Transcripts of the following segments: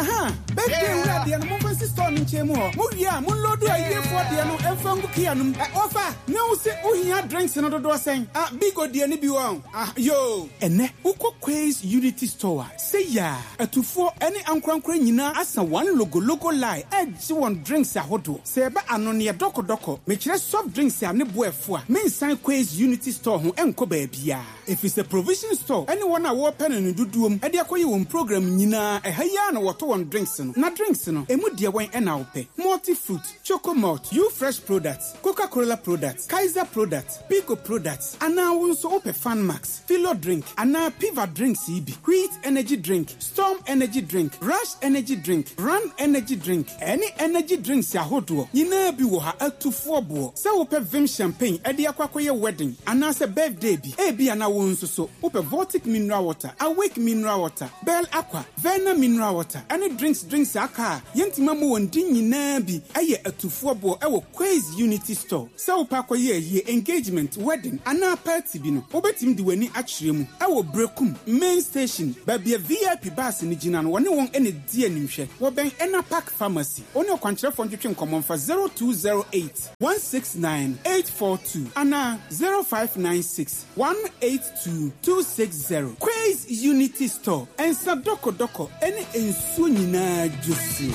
Aha! Birthday wura deɛ no momfa nsi store no nkyɛn mu hɔ. Mowie a, monloadu ayiefoɔ deɛ no mfa ngu kia no mu. Ɛ, wɔfa, na wo se wohia drinks no dodoɔ sɛn? Ah, Bigo deɛ no bi wɔ hɔ? Ah, yoo. Ɛnnɛ, wokɔ Quays Unity Store a, sei a, atufoɔ ne ankorankorɛ nyinaa asa one logologo line regye wɔn drinks ahodoɔ. Sɛ ɛba anonneɛ dɔkɔdɔkɔ, mekyerɛ soft drinks a ne bo ɛfo a, mensan Quays Unity Store ho nkɔ baabiara. Efisɛ provision store ne wɔn a wɔrepɛ no no dodoɔ mu de akɔyɛ wɔn program nyinaa ɛha yi ara na wɔtɔ wɔn drinks no. Na drinks no, ɛmu deɛ wɛn na wopɛ? Multi fruit, Choco malt, U fresh products, Coca Cola products, Kaiser products, Pico products, anaa wo nso wopɛ Fan Max, Philo drink, anaa Piva drinks yi bi, Wheat energy drink, Storm energy drink, Rush energy drink, Run energy drink, ɛne energy drinks ahodoɔ nyinaa bi wɔ ha atufoɔ boɔ. Sɛ wopɛ Vim champagne de akɔ akɔyɛ wedding anaasɛ birthday bi, ebia na wo nso so wopɛ Voltic mineral water, Awake mineral water, Bell Aqua, Verna mineral water, ɛne drinks drinks a aka a yɛntumi ammɔ wɔn din nyinaa bi yɛ atufoɔ boɔ wɔ Quays Unity Store. Sɛ wopɛ akɔyɛ ayie, engagement, wedding, anaa party bi no, wobɛtumi de w'ani akyerɛ mu wɔ Berekum Main Station, baabi a VIP bus no gyina no, wɔne wɔn na ɛdi animhwɛ. Wɔbɛn Enna Park Pharmacy. Wo ne ɔkwankyerɛfoɔ ntwetwe nkɔmmɔ mfa 0208 169 842 anaa 0596 182 260. Quays Unity Store, nsa dɔkɔdɔkɔ ne nsuo nyinaa dwosuo.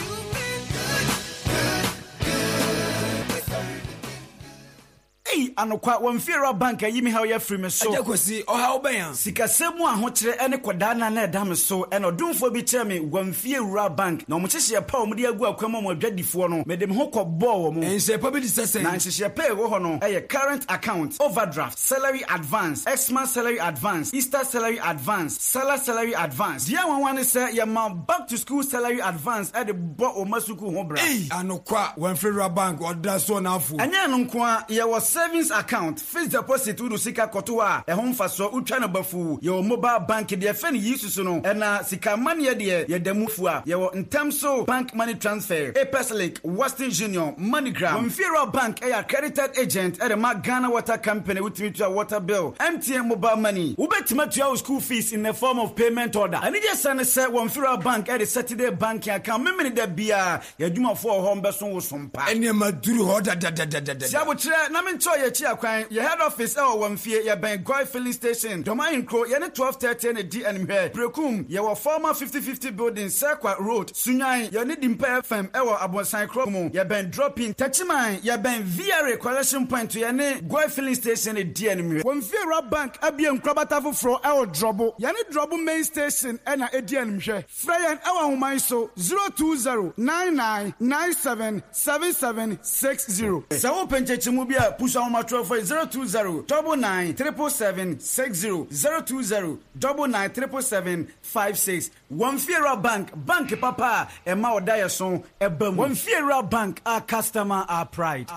Ei anokwa, wɔn fiewura bank ayi me haw yi afiri me so. Agya Kwasi, ɔhaw bɛn a? Sikasɛm mu ahokyerɛ ne kɔdaanna na ɛda me so, ɛna ɔdomfoɔ bi kyerɛɛ me wɔn fiewura bank, na wɔn nhyehyɛeɛ pa a wɔde agu akwan mu ama adwadifoɔ no, mede me ho kɔbɔɔ wɔn. Nhyehyɛe pa bi te sɛ sɛn? Na nhyehyɛeɛ pa a ɛwɔ hɔ no yɛ current account, overdraft, salary advance, Xmas salary advance, Easter salary advance, Sallah salary advance. Deɛ nwanwa ne sɛ yɛma back to school salary advance de bɔ wo mma sukuu ho bra. Ei! Anokwa, wɔamfiri Rural Bank, ɔda so n'afo. Ɛnyɛ ɛno nko ara, yɛwɔ savings account, fixed deposit wode wo sika kɔto hɔ a, ɛho mfasoɔ wotwa no bafuu, yɛwɔ mobile bank deɛ yɛfrɛ no Yisusu no, ɛna sika amanneɛ deɛ yɛda mu fua, yɛwɔ ntɛm so bank money transfer, Apex link, Western Union, MoneyGram. Wɔmfiri Rural Bank yɛ accredited agent de ma Ghana Water Company, wotumi tua water bill, MTN mobile money. Wobɛtumi atua wo school fees in the form of payment order. Anigyesɛm ne sɛ Wɔmfiri Rural Bank de Saturday banking account Memeneda biara, yɛn adwumafoɔ wɔ hɔ mbɛso wo so mpa. Nneɛma duru hɔ dadadadadada. Si abokyerɛ na menkyerɛ yɛn akyi akwan. Yɛn head office wɔ Wamfie, yɛbɛn Goil filling station, Dɔm Ahenkuro, yɛne 12:30 na ɛdi animhwɛ. Berekum, yɛwɔ former 50/50 building, Serkwa road, Sunyani, yɛne Dimpa FM wɔ Abonsan kuro mu, yɛbɛn Dropping. Techiman, yɛbɛn VRA collection point, yɛne Goil filling station na ɛdi animhwɛ. Wamfie Rural Bank abue nkorabata foforɔ wɔ Drɔbo. Yɛne Drɔbo main station na ɛdi animhwɛ. Frɛ yɛn wɔ ahoma yi so, 020 99 97 77 60. Sɛ wopɛ nkyɛkyɛmu bi a, pusu ahomatorɔfoɔ yi, 020 99 777 60, 020 99 777 56. Wɔn Fiewura Bank, bank papa a ɛma ɔdaeɛso ba mu. Wɔn Fiewura Bank, our customer, our pride.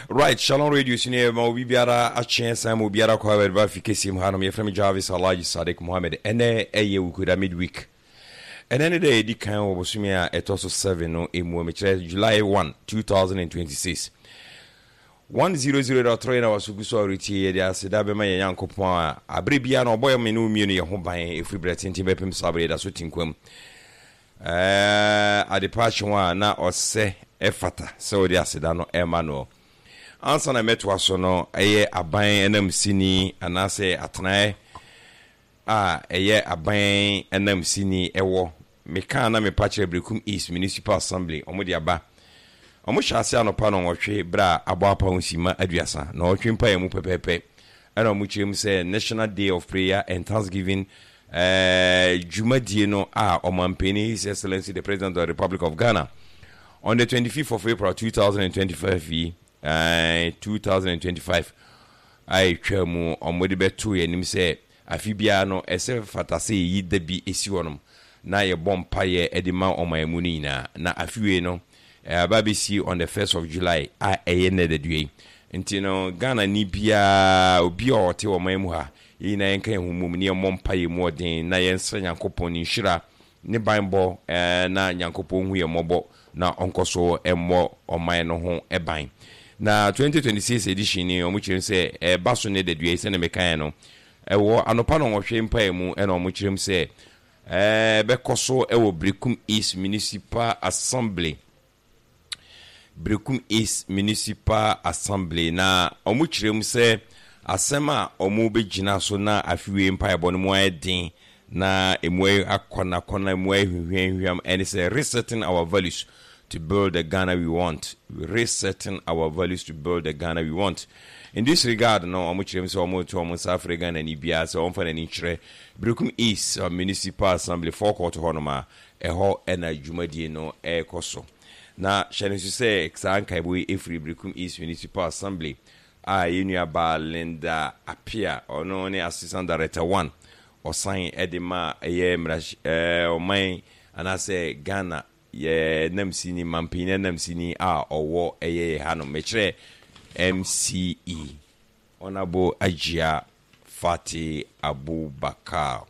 Right, Shalom Radio so ne ma obi biara akye san ma obiara kɔ abɛde ba fi kɛseɛ mu hanom. Yɛfrɛ me Jarvis Alhaji Sadiq Mohammed. Ɛnɛ ɛyɛ Wukuda midweek. Ɛnɛ ne da yɛdi kan wɔ bosome a ɛtɔ so 7 no emu, mekyerɛ July 1, 2026. 100.3 na waso gu so a ɔretie. Yɛde aseda bɛma yɛn Nyankopɔn a abere biara na ɔbɔ yɛn me ne wo mmienu yɛn ho ban ɛfiri berɛ tenten bɛpem saa berɛ yɛda so te nkwa mu. Ɛɛ, adepa akye a na ɔsɛ ɛfata sɛ wode aseda no ɛma no. Ansa na mɛtoa so no, ɛyɛ aban ananmusini anaasɛ atenaeɛ a ɛyɛ aban ananmusini ɛwɔ mekaa na mepa kyerɛ Berekum East Municipal Assembly, wɔn de aba. Wɔn hyɛ ase anɔpa nnɔnwɔtwe berɛ a abɔ apaw nsimma 30, nnɔnwɔtwe mpaeɛ mu pɛpɛɛpɛ ɛna wɔn kyerɛ mu sɛ National Day of Prayer and Thanksgiving ɛɛ dwumadie no a ɔmanpanin His Excellency the President of the Republic of Ghana on the 25th of April 2025 yi ɛɛ 2025 a ɛtwa mu wɔn de bɛto yɛn anim sɛ afe biara no ɛsɛ fata sɛ yɛyi da bi esi hɔnom na yɛbɔ mpaeɛ de ma ɔman mu no nyinaa. Na afe wei no aba abɛsi on the 1st of July a ɛyɛ nnɛ dadua yi. Nti no Ghana ni biara, obi a ɔte ɔman mu ha, yɛn nyinaa yɛnka yɛn ho mmom na yɛmmɔ mpaeɛ mu ɔden na yɛnsrɛ Nyankopɔn ne nhyira ne banbɔ na Nyankopɔn nhu yɛn mmɔbɔ na ɔnkɔ so mmɔ ɔman no ho ban. Na 2026 edition ni, wɔn kyerɛ mu sɛ ɛreba so nnɛ dadua yi sɛdeɛ mekaeɛ no, ɛwɔ anɔpa nnɔnwɔtwe mpaeɛ mu ɛna wɔn kyerɛ mu sɛ. Ɛbɛkɔ so wɔ Berekum East Municipal Assembly. Berekum East Municipal Assembly na wɔkyerɛ mu sɛ asɛm a wɔbɛgyina so na afe wei mpaebɔ no mu ayɛ den na emu ayɛ akɔnakɔna, emu ayɛ hwehwɛnhwehwɛm ɛne sɛ Resetting Our Values to Build the Ghana We Want, Resetting Our Values to Build the Ghana We Want. In this regard no, wɔkyerɛ mu sɛ wɔreto wɔn nsa afrɛ Ghanani biara sɛ ɔmfa n'ani nkyerɛ Berekum East Municipal Assembly forecourt hɔnom a ɛhɔ na dwumadie no rekɔ so. Na hyɛ no nso sɛ saa nkaebɔ yi firi Berekum East Municipal Assembly a yɛn nua baa Linda Appiah, ɔno ne Assistant Director One, ɔsan de ma ɛyɛ mmarahy ɛɛ ɔman anaasɛ Ghana yɛ namsini, mampanyin anamsini a ɔwɔ ɛyɛ yɛ hanom, mekyerɛ MCE, Honourable Agyia Fati Abubakar.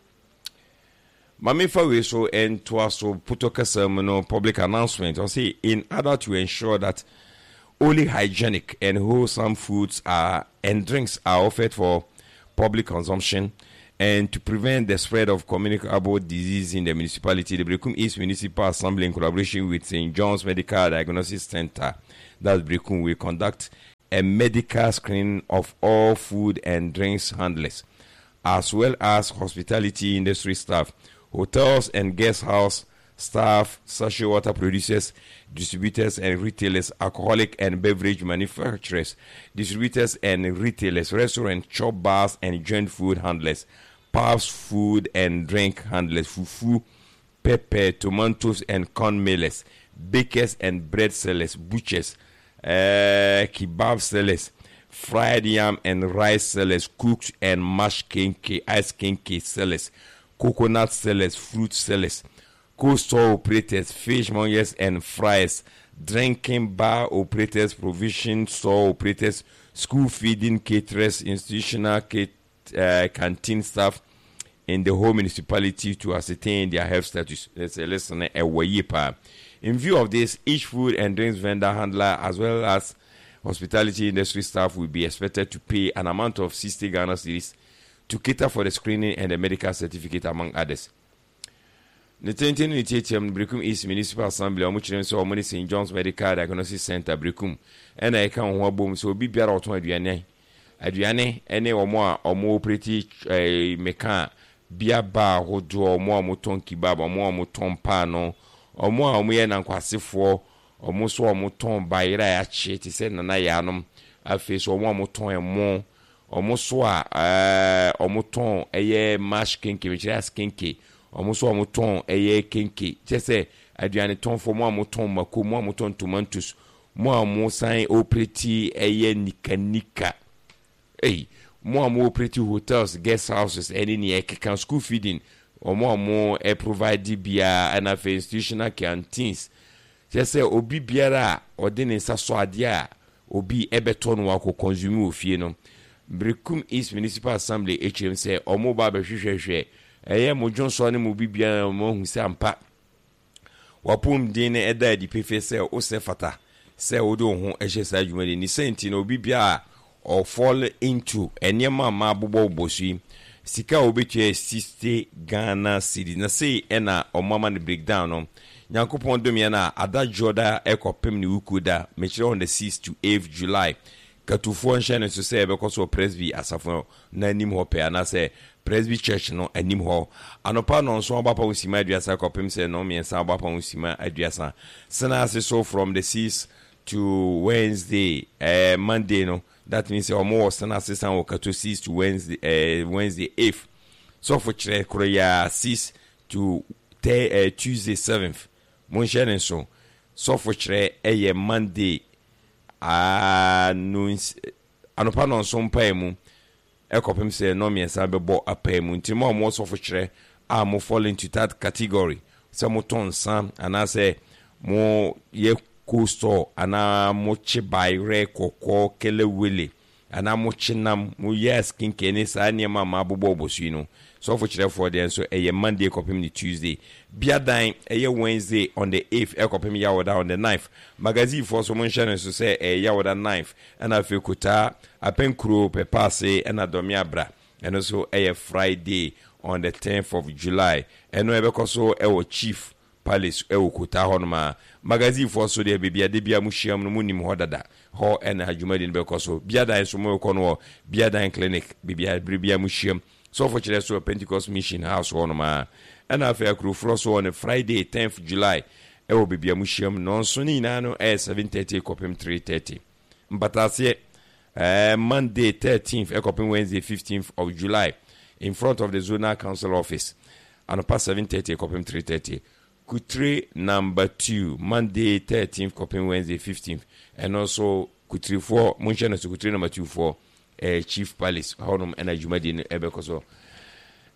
Ma memfa wei so ntoa so, Putɔ kasa mu no, public announcement, ɔse in order to ensure that only hygienic and wholesome foods are and drinks are offered for public consumption and to prevent the spread of communicable disease in the municipality, the Berekum East Municipal Assembly in collaboration with St. John's Medical Diagnosis Center, that's Berekum, will conduct a medical screening of all food and drinks handlers, as well as hospitality industry staff, hotels and guest house staff, sachet water producers, distributors and retailers, alcoholic and beverage manufacturers, distributors and retailers, restaurant, chop bars and joint food handlers, pubs, food and drink handlers, fufu, pepper, tomatoes and corn millers, bakers and bread sellers, butchers, uh, kebab sellers, fried yam and rice sellers, cooks and mashed kenke, ice kenke sellers, coconut sellers, fruit sellers, cold store operators, fishmongers and fryers, drinking bar operators, provision store operators, school feeding caterers, institutional cat, uh, canteen staff in the whole municipality to ascertain their health status. Let's say, listen, a In view of this, each food and drinks vendor handler as well as hospitality industry staff will be expected to pay an amount of 60 Ghana cedis to cater for the screening and the medical certificate among others. Ne tenten ne ne tiatiam no, Berekum East Municipal Assembly a wɔkyerɛ mu sɛ wɔn ne St. John's Medical Diagnosis Centre, Berekum, na ɛka wɔn ho abom sɛ obi biara a ɔtɔn aduane, aduane ne wɔn a wɔn operate eh, meka bia bar ahodoɔ, wɔn a wɔtɔn kebab, wɔn a wɔtɔn paano, wɔn a wɔyɛ nankwasefoɔ, wɔn nso a wɔtɔn bayerɛ a yɛakye te sɛ nana yaanom, afei nso wɔn a wɔtɔn ɛmo, Wɔn nso a ɛɛ wɔtɔn ɛyɛ mash kenke, mekyerɛ as kenke. Wɔn nso a wɔtɔn ɛyɛ kenke, kyerɛ sɛ aduane tɔnfoɔ, mo a motɔn mako, mo a motɔn tomatoes, mo a mosan operate ɛyɛ nika nika. Ei, mo a mo operate hotels, guest houses ɛne nea ɛkeka, school feeding, wɔn a mo provide biara, ɛna afei institutional canteens. Kyerɛ sɛ obi biara a ɔde ne nsa sɔ adeɛ a obi bɛtɔ no akɔ consume wɔ fie no, Berekum East Municipal Assembly kyerɛm sɛ wɔn reba abɛhwehwɛhwɛ ɛyɛ mo dwonsɔ ne mo biribiara na wɔn ahu sɛ ampa w'apɔmuden no ɛda adi pefee sɛ wosɛ fata sɛ wode wo ho hyɛ saa dwumadi ne sɛ nti no obi biara a ɔ fall into nneɛma a mabobɔbobɔ so yi, sika a wobetua yɛ 60 Ghana cedis. Na sei na ɔmo ama no breakdown no. Nyankopɔn dom yɛn a, ada Dwoda kɔpem ne Wukuo da, mekyerɛ on the 6th to 8th July, Katufoɔ nhyɛ no nso sɛ yɛbɛkɔ so wɔ Presby asafo no anim hɔ pɛɛ anaasɛ Presby Church no anim hɔ. Anɔpa nnɔnson abɔ apam simma aduasa kɔpem sɛ nnɔnmiɛnsa abɔ apam simma aduasa. Sena ase so from the 6th to Wednesday eh, Monday no that means sɛ wɔn wɔ sena sesan wɔ kato 6 to Wednesday eh, Wednesday 8th sɔfo kyerɛ koro yaa 6 to te, eh, Tuesday 7th monhyɛ ne nso sɔfo kyerɛ ɛyɛ Monday ah, no anopa nɔnso mpae mu kɔpem sɛ nnɔnmiɛnsa bɛbɔ apae mu. Nti mo a mowɔ sɔfo kyerɛ a mo fall into that category sɛ mo tɔn nsa anaasɛ mo yɛ cold store anaa mo kye bayerɛ, kɔkɔɔ, kelewele anaa mo kye nam, mo yɛ skincare ne saa nneɛma a mabobɔ bɔ so yi no, sɔfo kyerɛfoɔ deɛ nso ɛyɛ Monday kɔpem ne Tuesday. Biadan ɛyɛ Wednesday on the 8th ɛkɔpem Yawoda on the 9th. Magazine foɔ nso monhyɛ no nso sɛ ɛyɛ Yawoda 9th Ɛna afei Kotaa, Apenkuro, Pɛpaase ɛna Dɔmeabra, ɛno nso ɛyɛ Friday. on the 10th of July. Ɛno ɛbɛkɔ so ɛwɔ Chief Palace ɛwɔ Kota hɔnom a. Magazine foɔ so deɛ baabi a da biara mo hyiam no mo nim hɔ dada. Hɔ ɛna dwumadie no bɛkɔ so. Biadan nso mo rekɔ no wɔ Biadan Clinic baabi a bere biara mo hyiam. Sɔfo kyerɛ so wɔ Pentecost Mission House hɔnom a. Ɛna afei Akuroforɔ so on Friday 10th July ɛwɔ baabi a mo hyiam nnɔnson ne nyinaa no ɛyɛ 7:30 kɔpem 3:30. Mpataaseɛ ɛɛ Monday 13th ɛkɔpem Wednesday 15th of July in front of the Zonal Council Office anɔpa 7:30 kɔpem 3:30. Kutire number 2 Monday 13th kɔpem Wednesday 15th ɛno nso Kutirifoɔ monhyɛ no so Kutire number 2 foɔ ɛɛ Chief Palace hɔnom ɛna dwumadie no ɛbɛkɔ so.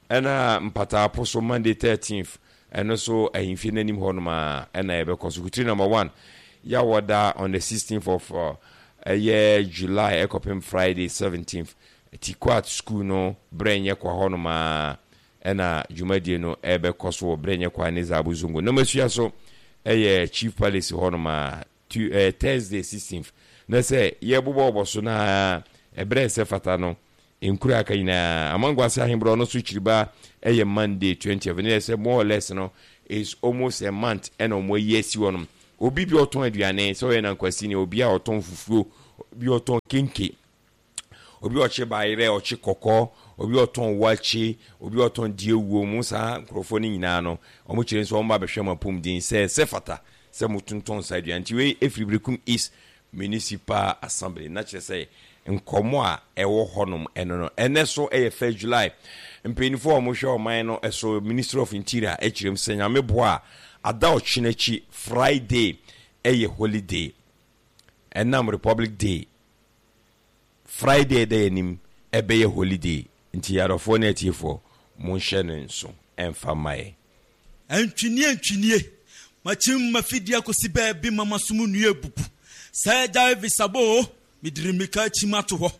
Ɛna Mpataapo so Monday 13th ɛno so ahemfie no anim hɔnom a ɛna ɛbɛkɔ so. Kutire number 1 Yawɔda on the 16th of ɛyɛ July ɛkɔpem Friday 17th Tikwat school no berɛ nyɛ kwa hɔnom a ɛna dwumadie no ɛbɛkɔ so wɔ berɛ nyɛ kwa ne Zabu Zongo. Namasua so ɛyɛ Chief Palace hɔnom a Tu eh, Thursday 16th na sɛ yɛbobɔbɔ so na ɛberɛ ɛsɛ fata no nkura aka nyinaa Amanguase Ahenborɔ no so kyiriba ɛyɛ Monday 20th ne yɛ sɛ more or less no is almost a month ɛna wɔn ayi asi hɔ nom obi bi ɔtɔn aduane sɛ ɔyɛ nankwasini obi a ɔtɔn fufuo obi ɔtɔn kenke obi a ɔkye bayerɛ, ɔkye kɔkɔɔ, obi a ɔtɔn wakye, obi a ɔtɔn deɛ wuo mu saa nkurɔfoɔ no nyinaa no, wɔn kyerɛ nso wɔn ba bɛhwɛ mo apɔmuden sɛ sɛ fata sɛ mo tontɔn saa aduane. Nti wei ɛfiri Berekum East Municipal Assembly na kyerɛ sɛ nkɔmɔ a ɛwɔ hɔnom ɛno no. Ɛnɛ so ɛyɛ 1 July. Mpanyinfoɔ a wɔhwɛ ɔman no so Ministry of Interior ɛkyerɛ mu sɛ Nyame boa a ada ɔkyena akyi Friday ɛyɛ holiday ɛnam Republic Day Friday a ɛda yɛn anim ɛbɛyɛ holiday nti adɔfoɔ ne atiefoɔ monhyɛ no nso ɛmfa mma yɛn. Antwinie antwinie, makyim m'afidie akɔsi baabi ma m'asom nnua abubu. Sɛ Gyaivis abɔ o, mediri mmirika akyim ato hɔ.